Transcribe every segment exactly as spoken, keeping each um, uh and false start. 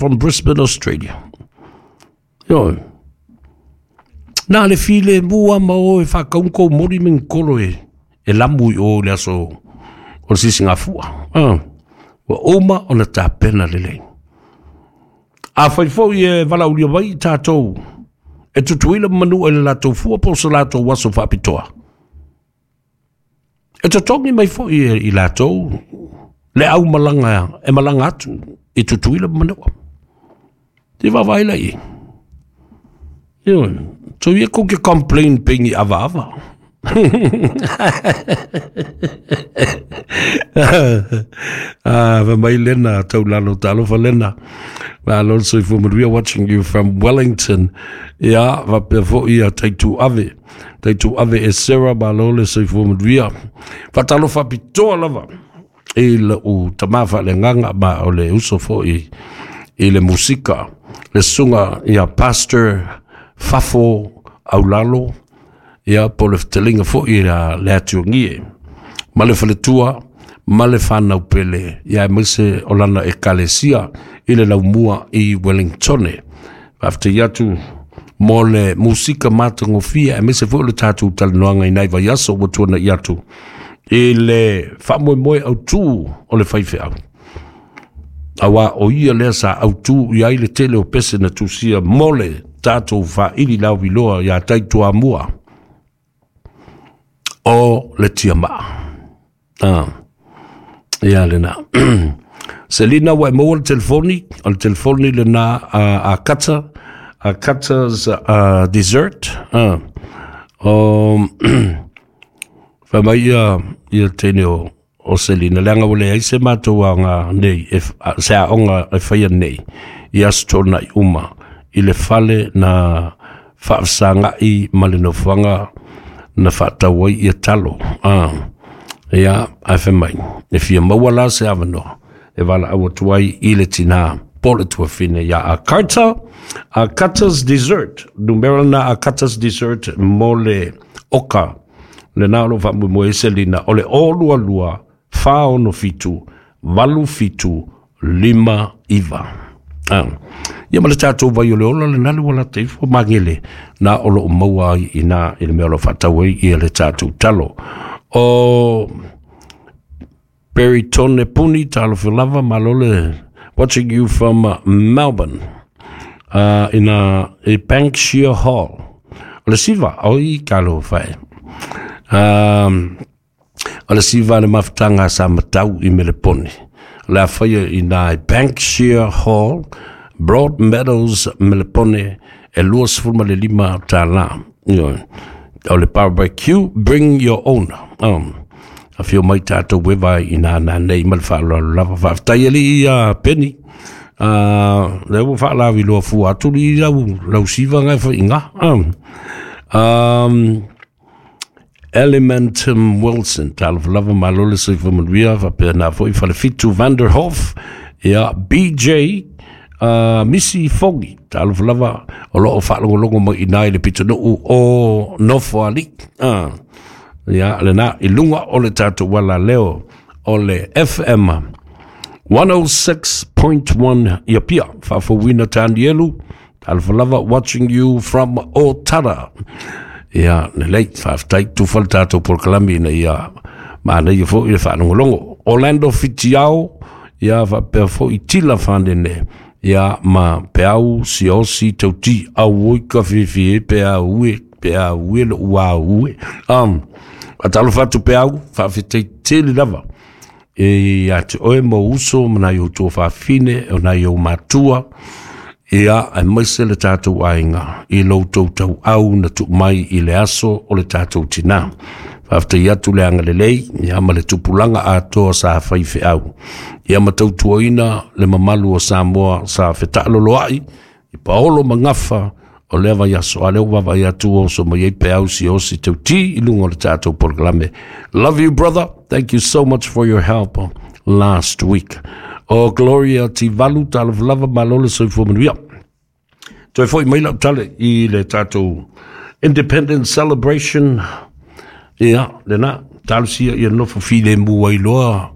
From Brisbane, Australia. Ioe. Na le filemu lava ma o e faatauga kou moli ma ni kolo e, e lamu i o i le aso o le sisigafua. Ah. Ua uma ona tapena lelei. Afai foi e valaaulia mai tatou e Tutuila ma Manua i le latou fua po o se latou aso faapitoa, e totogi mai foi e i latou le aumalaga e malaga atu i Tutuila ma Manua. Te vaavaai la i ai. Ioe, so ia kou ke complain pe ni avaava. Ah, fai mai Lena, taulalo, talofa Lena. Malo le soifua manuia, watching you from Wellington. Ia, faapea foi ia Taitu Ave. Taitu Ave e Sarah, malo le soifua manuia. Faatalofa faapitoa lava i lou tama faaleagaga ma o le uso foi i le musika, le susuga ia Pastor Fafo Aulalo, ia po o le fetalaiga foi a le Atuagie ma le faletua ma le fanau pele, ia aemaise o lana ekalesia i le laumua i Wellingtone. Faafetai atu mo le musika matagofie, aemaise foi o le tatou talanoaga i nai vaiaso ua tuanai atu i le faamoemoe autu o le faifeau. Aua o ia lea sa autu i ai le tele o pese na tusia mo le tatou faaili lauiloa iā Taituamua o le tiamaa. Ah, ia lena. Selina, ua e maua le telefoni, o le telefoni lena a, a Kata, a Kata's uh, Dessert. Ah. O, fai mai ia, ia teine o, o Selina, leaga ua leai se matou aoga nei, e, se aoga e faia nei, i Aso Toonai uma, i le fale na faafesagai ma le nofoaga na faatau ai ia talo. Ah, ia, ae fai mai, e fia maua la se avanoa e valaau atu ai i le tinā po le tuafine ia a Carter, a Carter's Dessert, numera na a Carter's Dessert mo le oka, lena o lo o faamoemoe ai Selina, o le o lua lua, fa ono fitu, valu fitu, lima iva. Ah. Ia ma le tatou vai o le ola lena le ua lata ifo magele na o lo o maua ai i nā i le mea o lo o faatau ai ia le tatou talo. O Peritone Puni, talofa lava, malo le watching you from Melbourne. Uh, ina i Banksia Hall. O le siva, oi talofa e. Um, o le siva le mafutaga a Samatau i Melepone. O le a faia i nā i Banksia Hall, Broadmeadows, Melepone, e lua sefulu ma le lima tālā. Ioe. O le barbecue, bring your own. Um, afio mai tatou e vae i nā nā nei ma le faaaloalo lava. Faafetai alii ia Penny. Uh, lea ua faalauiloa fua atu li lau, lau siva ngai fai inga. Um, um, Elementum Wilson, talofa lava, malo le soifua manuia, faapea nā foi Falefitu Vanderhof, ia B J, uh, Missy Fogi, talofa lava, o lo o faalogologo mai i nā i le pitonuu o Nofoalii. Uh, ia, lena, i luga o le tatou ala leo o le F M one oh six point one i Apia, faafouina Tanielu, talofa lava, watching you from Otara. Ia, lelei, faafetai, tufa le tatou polokalame ina ia manaia foi le faalogologo. Orlando Fitiao, ia faapea foi Tila Fanene, ia ma Peau Siosi Tauti, auoi ka fifi e Peau e, Peau e lou au e. Um, faatalofa atu Peau, faafetai tele lava. E ia te oe mo uso ma nai o tua faafine, o nai o matua, ia aemaise le tatou aiga i lo outou tauau na tuu mai i le aso o le tatou tinā. Faafetai atu le agalelei, ia ma le tupulaga atoa sa faifeau. Ia ma tautuaina le mamalu o Samoa sa fetaaloloai, i paolo ma gafa o lea vaiaso, a lea ua vaavaai atu o oso mai ai Peau Siosi Tauti i luga o le tatou polokalame. Love you brother, thank you so much for your help last week. O Gloria Tivalu, talofa lava, malo le soifua manuia. Toe foi mai lau tale i le tatou Independence Celebration. Ia, lena, talosia ia nofo filemu ai loa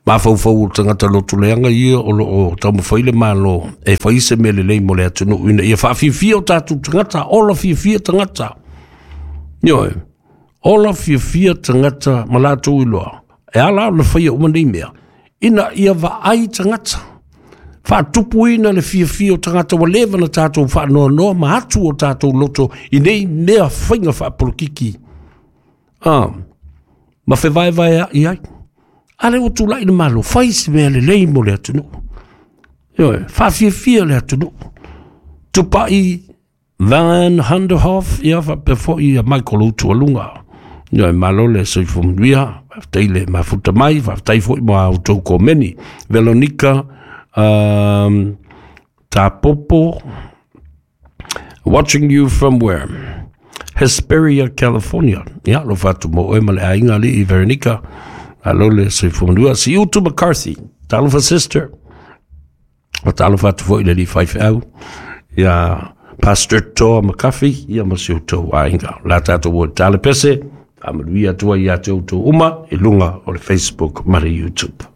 Mafaufau o tagata lotoleaga ia o loo taumafai le Malo e fai se mea lelei mo le atunuu ina ia faafiafia o tatou tagata, ola fiafia tagata. Ioe, ola fiafia tagata ma latou iloa. E ala ona faia uma nei mea, ina ia vaai tagata. Faatupuina le fiafia o tagata ua leva na tatou faanoanoa ma atu o tatou loto i nei mea faiga faapolokiki. Ah, ma fevaevaea'i ai. A lea ua tulai le Malo, fai se mea lelei mo le atunuu. Ioe, faafiafia le atunuu. Tupai Van Hunderhoff, ia faapea foi ia Michael Utualuga. Ioe, malo le soifua manuia, faafetai le mafuta mai, faafetai foi mo a outou komeni. Veronica um, Tapopo, watching you from where? Hesperia, California. Ia, lo fatu mo oe ma le aiga alii Veronica. Malo le soifua manuia. Si Utu McCarthy, talofa sister. O talofa atu foi le alii faifeau. Ia, Pastor Toa McCarthy, ia ma si outou aiga. La tatou o tale pese, faamanuia atu ai ia te outou uma i luga o le Facebook ma le YouTube.